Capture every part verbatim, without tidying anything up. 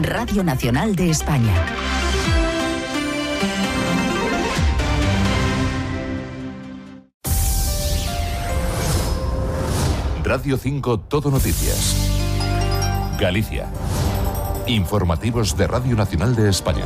Radio Nacional de España. Radio cinco Todo Noticias. Galicia. Informativos de Radio Nacional de España.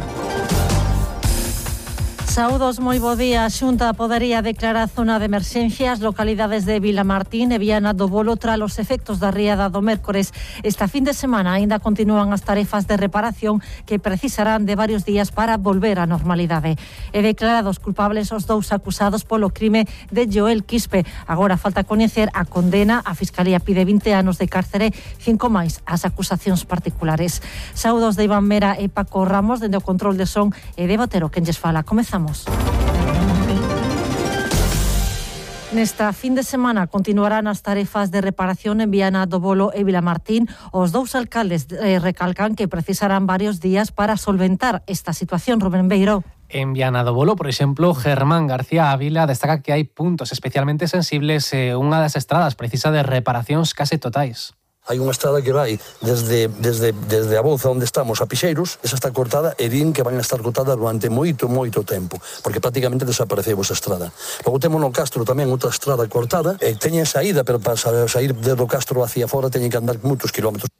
Saúdos, moi bo día. A Xunta podería declarar zona de emerxencia as localidades de Vilamartín e Viana do Bolo tras os efectos da riada do mércores. Esta fin de semana aínda continúan as tarefas de reparación que precisarán de varios días para volver á normalidade. E declarados culpables os dous acusados polo crime de Joel Quispe. Agora falta coñecer a condena. A Fiscalía pide vinte anos de cárcere, cinco máis as acusacións particulares. Saúdos de Iván Mera e Paco Ramos dende o control de son e de Botero quen lles fala. Comezamos. Nesta fin de semana continuarán as tarefas de reparación en Viana do Bolo e Vilamartín. Os dous alcaldes eh, recalcan que precisarán varios días para solventar esta situación. Rubén Beiró. En Viana do Bolo, por exemplo, Germán García Ávila destaca que hai puntos especialmente sensibles e unha das estradas precisa de reparacións case totais. Hai unha estrada que vai desde, desde, desde a Bouza onde estamos a Pixeiros, esa está cortada e din que van a estar cortada durante moito, moito tempo, porque prácticamente desapareceu esa estrada. Logo temos no Castro tamén outra estrada cortada, e teñen saída, pero para sair desde o Castro hacia fora teñen que andar moitos kilómetros.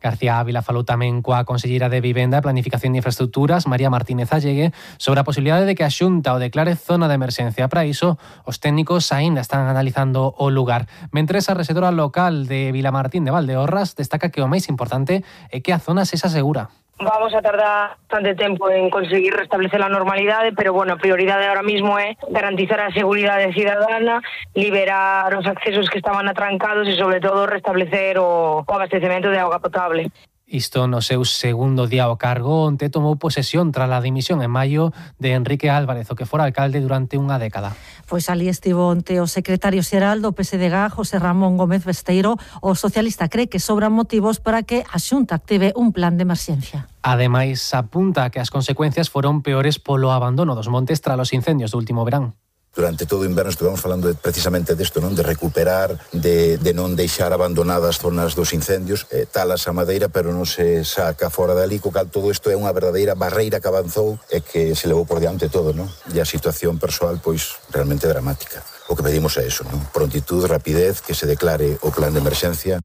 García Ávila falou tamén coa conselleira de Vivenda, Planificación e Infraestructuras, María Martínez Allegue, sobre a posibilidade de que a Xunta o declare zona de emerxencia. Para iso, os técnicos aínda están analizando o lugar. Mentres, a rexedora local de Vilamartín de Valdeorras destaca que o máis importante é que a zona sexa segura. Vamos a tardar bastante tempo en conseguir restablecer a normalidade, pero, bueno, a prioridade ahora mismo é garantizar a seguridade cidadana, liberar os accesos que estaban atrancados e, sobre todo, restablecer o, o abastecemento de auga potable. Isto no seu segundo día ao cargo, onte tomou posesión tras a dimisión en maio de Enrique Álvarez, o que fora alcalde durante unha década. Pois ali estivo onte o secretario xeral do P S D G, José Ramón Gómez Besteiro. O socialista cree que sobran motivos para que a Xunta active un plan de emerxencia. Ademais, apunta que as consecuencias foron peores polo abandono dos montes tras os incendios do último verán. Durante todo o inverno estivemos falando de, precisamente desto, non? De recuperar, de, de non deixar abandonadas zonas dos incendios, eh, talas a madeira, pero non se saca fora dali, co cal todo isto é unha verdadeira barreira que avanzou e que se levou por diante todo, non? E a situación persoal, pois, realmente dramática. O que pedimos é eso, non? Prontitud, rapidez, que se declare o plan de emerxencia.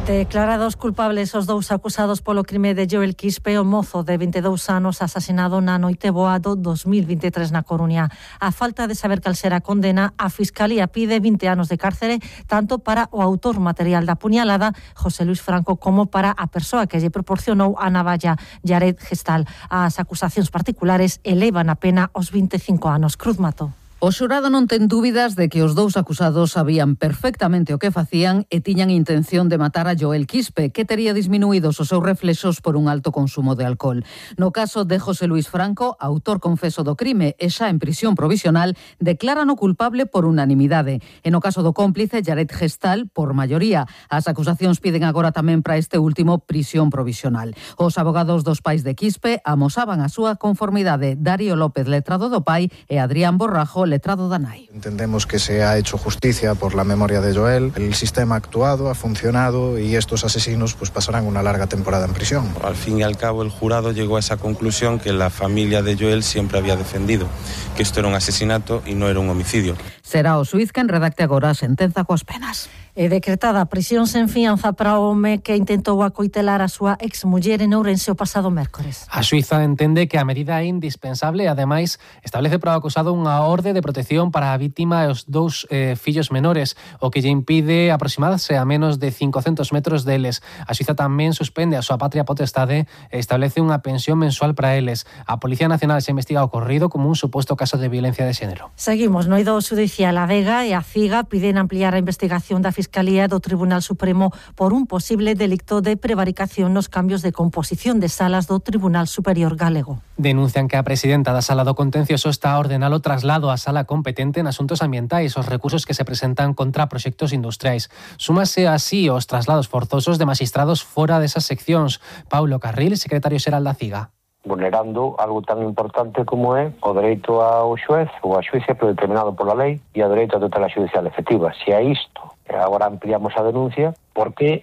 Declarados culpables os dous acusados polo crime de Joel Quispe, o mozo de vinte e dous anos asasinado na noite boa do dos mil vinte e tres na Coruña. A falta de saber cal será a condena, a Fiscalía pide vinte anos de cárcere tanto para o autor material da puñalada, José Luis Franco, como para a persoa que lle proporcionou a navalla, Jared Gestal. As acusacións particulares elevan a pena aos vinte e cinco anos. Cruz Mato. O xurado non ten dúbidas de que os dous acusados sabían perfectamente o que facían e tiñan intención de matar a Joel Quispe, que tería disminuídos os seus reflexos por un alto consumo de alcohol. No caso de José Luis Franco, autor confeso do crime e xa en prisión provisional, declaran o culpable por unanimidade. E no caso do cómplice, Jared Gestal, por maioría. As acusacións piden agora tamén para este último prisión provisional. Os abogados dos pais de Quispe amosaban a súa conformidade. Darío López, letrado do pai, e Adrián Borrajo, letrado da nai. Entendemos que se ha hecho justicia por la memoria de Joel. El sistema ha actuado, ha funcionado y estos asesinos pues pasarán una larga temporada en prisión. Al fin y al cabo el jurado llegó a esa conclusión que la familia de Joel siempre había defendido, que esto era un asesinato y no era un homicidio. Será o xuíz quen redacte agora a sentenza coas penas. E decretada a prisión sen fianza para o home que intentou acoitelar a súa exmuller en Ourense o pasado mércores. A xuíza entende que a medida é indispensable e, ademais, establece para o acusado unha orde de protección para a vítima e os dous eh, fillos menores, o que lle impide aproximarse a menos de cincocentos metros deles. A xuíza tamén suspende a súa patria potestade e establece unha pensión mensual para eles. A Policía Nacional se investiga o ocorrido como un suposto caso de violencia de xénero. Seguimos no eido xudicial. A Vega e a Ciga piden ampliar a investigación da Fiscalía do Tribunal Supremo por un posible delito de prevaricación nos cambios de composición de salas do Tribunal Superior Galego. Denuncian que a presidenta da Sala do Contencioso está a ordenar o traslado á sala competente en asuntos ambientais os recursos que se presentan contra proxectos industriais. Súmase así os traslados forzosos de magistrados fora desas seccións. Paulo Carril, secretario xeral da Ciga. Vulnerando algo tan importante como é o dereito ao xuez ou a xuíza predeterminado pola lei e o dereito a tutela xudicial efectiva. Se a isto agora ampliamos a denuncia, porque